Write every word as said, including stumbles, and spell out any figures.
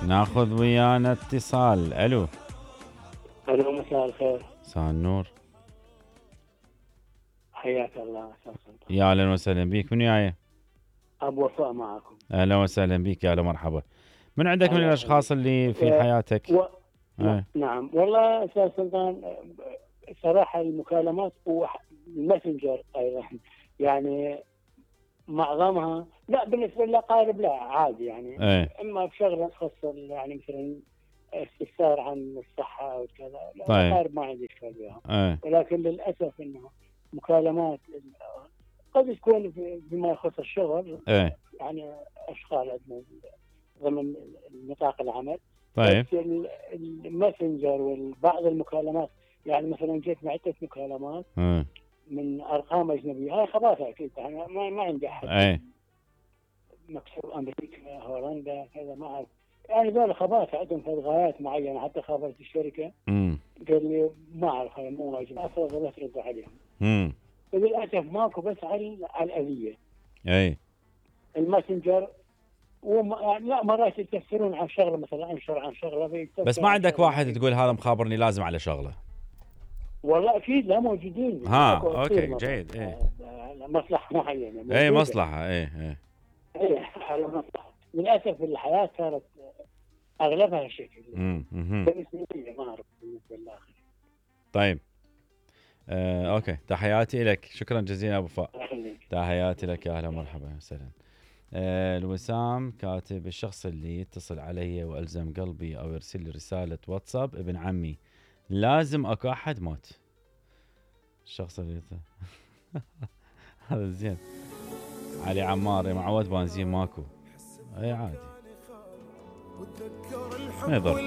ناخذ ويانا اتصال. الو. الو مساء الخير. مساء النور. حياك الله استاذ سلطان. يا اهلا وسهلا بيك. من وياي؟ ابو وفاء معكم. اهلا وسهلا بيك. يا هلا مرحبا. من عندك من الاشخاص اللي في حياتك؟ و... ايه. نعم والله استاذ سلطان، صراحه المكالمات والماسنجر ايضا يعني معظمها لا بالنسبه للاقارب لا عادي يعني. ايه. اما بشغله تخص يعني مثلا استفسار عن الصحه او كذا لا. طيب. الاقارب ما عندي اشكال بها. ايه. ولكن للاسف انه مكالمات قد تكون بما يخص الشغل. ايه. يعني اشغال عندنا ضمن نطاق العمل. طيب. الماسنجر وبعض المكالمات يعني مثلا جيت عدة مكالمات ايه. من ارقام اجنبيه، هاي خباثه اكيد. انا ما, ما عندي احد. ايه. مكتوب امريكا هولندا كذا ما اعرف يعني ذول خباثه عندهم في غايات معينه. حتى خابرت الشركه امم قال لي ما اعرف هاي مو واجب افرض لا ترد عليهم. امم وللاسف ماكو بس على على الاليه. اي. الماسنجر وما يعني لا مرات يتكسرون عن شغله، مثلا انشر عن شغله بس ما عندك واحد تقول هذا مخابرني لازم على شغله؟ والله اكيد لا موجودين. ها اوكي جيد. ايه. مصلحه معينه. اي مصلحه. ايه ايه ايه على مصلحه. للاسف الحياه صارت اغلبها شكل. امم بالنسبه لي ما اعرف بالنسبه للاخر. طيب. آه، اوكي. تحياتي لك. شكرا جزيلا ابو وفاء. تحياتي لك. يا اهلا ومرحبا وسهلا. آه، الوسام كاتب: الشخص اللي يتصل علي والزم قلبي او يرسل لي رساله واتساب ابن عمي لازم اكو احد مات. الشخص اللي هذا زين. علي عمار: معود بنزين ماكو. اي عادي ما يضر.